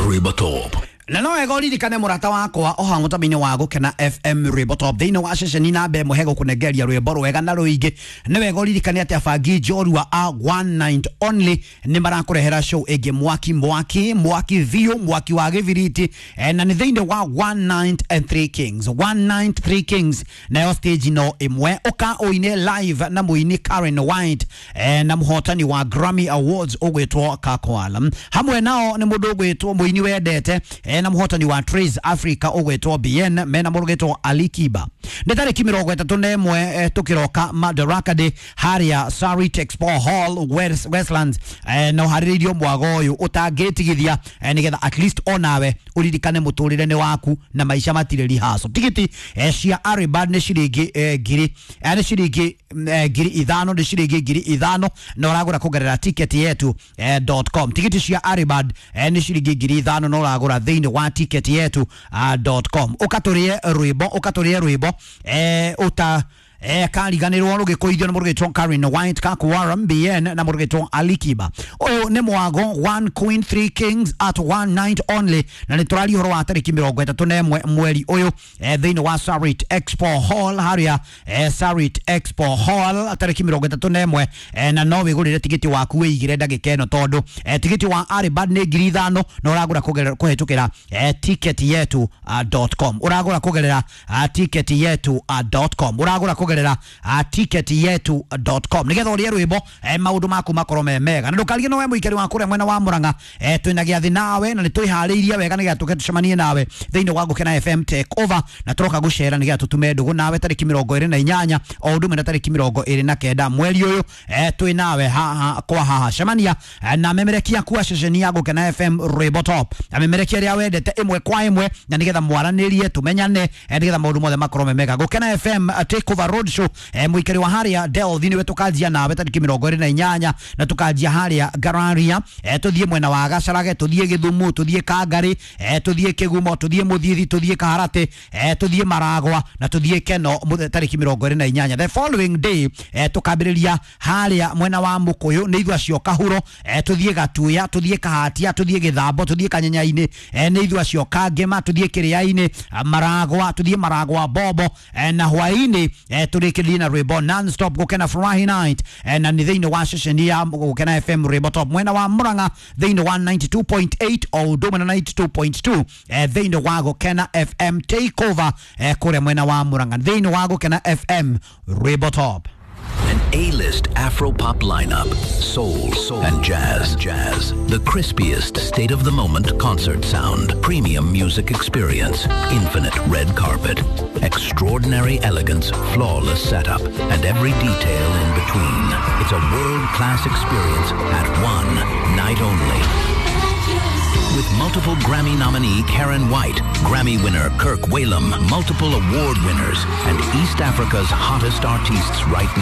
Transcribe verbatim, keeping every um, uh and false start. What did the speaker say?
Rwimbo Top. Na no wega ũririkane mũrata wakwa o haha mũtambo-inĩ wa Gũkena F M Rwĩmbo Top thĩinĩ wa ceceni namba ĩmwe hegũkũnengeria rwĩmbo rwega na rũingĩ. Nĩ wega ũririkane atĩ abangi njorua a one night only nĩ marakũrehera show ĩngĩ mwaki mwaki mwaki viũ mwaki wa gĩbiriti, eh, na nĩ thĩinĩ wa one night and three kings, one night three kings, nayo stage no ĩmwe. Ũka ũine live na mũini Karen White, eh, na mũhotani wa Grammy Awards ũgwĩtwo Kakwala. Hamwe nao nĩ mũndũ ũgwĩtwo mũini wendete, eh, na mũhotani wa Trace Africa ũgwĩtwo B N mena mũrũgĩtwo Ali Kiba. Nĩ tarĩki mĩrongo ĩtatũ na ĩmwe, eh, tũkĩroka Madaraka Day harĩa Sarit Expo Hall West, Westlands, eh, na ũharĩrĩirio mwago ũyũ ũtangĩtigithia, eh, nĩgetha at least onawe ũririkane mũtũrĩre nĩ waku na maica matirĩ rehearsal. Tigiti, eh, cia Aribad nĩ ciringi, eh, ngiri, eh, nĩ ciringi, eh, ngiri ithano, nĩ ciringi ngiri ithano na ũragũra kũgerera ticket yetu, eh, dot com. Tigiti cia Aribad, eh, nĩ ciringi ngiri ithano na ũragũra thĩinĩ wa ticket yetu, ah, dot com. Ũkatũrĩe rwĩmbo, ũkatũrĩe rwĩmbo, eh, ũta, eh, kariganĩrwo rũgĩkũithio nĩ mũrũgĩtwo Karen White, Kakwara B N na mũrũgĩtwo Ali Kiba. Ũyũ nĩ mwago one queen three kings at one night only, na nĩ tũraria ũhoro wa tarĩki mĩrongo ĩtatũ na ĩmwe mweri ũyũ, eh, thĩinĩ wa Sarit Expo Hall harĩa, eh, Sarit Expo Hall tarĩki mĩrongo ĩtatũ na ĩmwe, eh, na no wĩgũrĩre tigiti waku wĩigĩre ndagĩka ĩno tondũ, eh, tigiti wa Aribad nĩ ngiri ithano na ũragũra kũgerera, kũhĩtũkĩra, eh, ticket yetu, ah, dot com. Ũragũra kũgerera, ah, ticket yetu, ah, dot com. Ũragũra kũgerera, ah, ticket yetu dot com nigetha ũrĩe rwĩmbo, eh, maũndũ maku makorwo me mega. Na ndũkarige no we mũikari wa kũrĩa mwena wa Murang'a, eh, twĩna gĩathĩ nawe na nĩtwĩharĩirie wega nĩgetha tũke tũcemanie nawe thĩinĩ wa Gũkena F M Take Over, na tũroka gũcera nĩgetha tũtume ndũgũ nawe tarĩki mĩrongo ĩrĩ na inyanya o ũndũ ũmwe na tarĩki mĩrongo ĩrĩ na kenda mweri ũyũ, eh, twĩ nawe haha kwa haha. Cemania, eh, na memerekia aku a ceceni ya Gũkena F M Rwĩmbo Top, na memerekia ĩrĩa wendete ĩmwe kwa ĩmwe, na nĩgetha mwaranĩrie tũmenyane, eh, nĩgetha maũndũ mothe makorwo me mega. Gũkena F M Take Over Road Show, eh, mũikari wa harĩa Delhi nĩwe tũkanjia nawe tarĩki mĩrongo ĩrĩ na inyanya, na tũkanjia harĩa Gararia, eh, tũthiĩ mwena wa Gacarage, tũthiĩ Gĩthumu, tũthiĩ Kangari, eh, tũthiĩ Kĩgumo, tũthiĩ Mũthithi, tũthiĩ Kaharatĩ, eh, tũthiĩ Maragwa na tũthiĩ Keno mũthenya tarĩki mĩrongo ĩrĩ na inyanya. The following day, eh, tũkambĩrĩria harĩa mwena wa Mũkũyũ nĩ ithuĩ acio Kahuro, eh, tũthiĩ Gatuya, tũthiĩ Kahatia, tũthiĩ Gĩthambo, tũthiĩ Kanyenyainĩ, eh, nĩ ithuĩ acio Kangema, tũthiĩ Kĩrĩainĩ, Maragwa, tũthiĩ Maragwa Bobo, eh, na hwainĩ, eh, tũrĩkĩrĩrie na rwĩmbo non-stop Gũkena Furahi Night, eh, na nĩ thĩinĩ wa ceceni ya Gũkena F M Rwĩmbo Top mwena wa Murang'a thĩinĩ wa ninety-two point eight o ũndũ ũmwe na ninety-two point two, eh, thĩinĩ wa Gũkena F M Takeover, eh, kũrĩa mwena wa Murang'a thĩinĩ wa Gũkena F M Rwĩmbo Top. An A-list Afro-pop lineup, soul, soul and jazz, jazz. The crispiest state-of-the-moment concert sound, premium music experience, infinite red carpet, extraordinary elegance, flawless setup, and every detail in between. It's a world-class experience at one night only. With multiple Grammy nominee Karen White, Grammy winner Kirk Whalum, multiple award winners, and East Africa's hottest artists right now.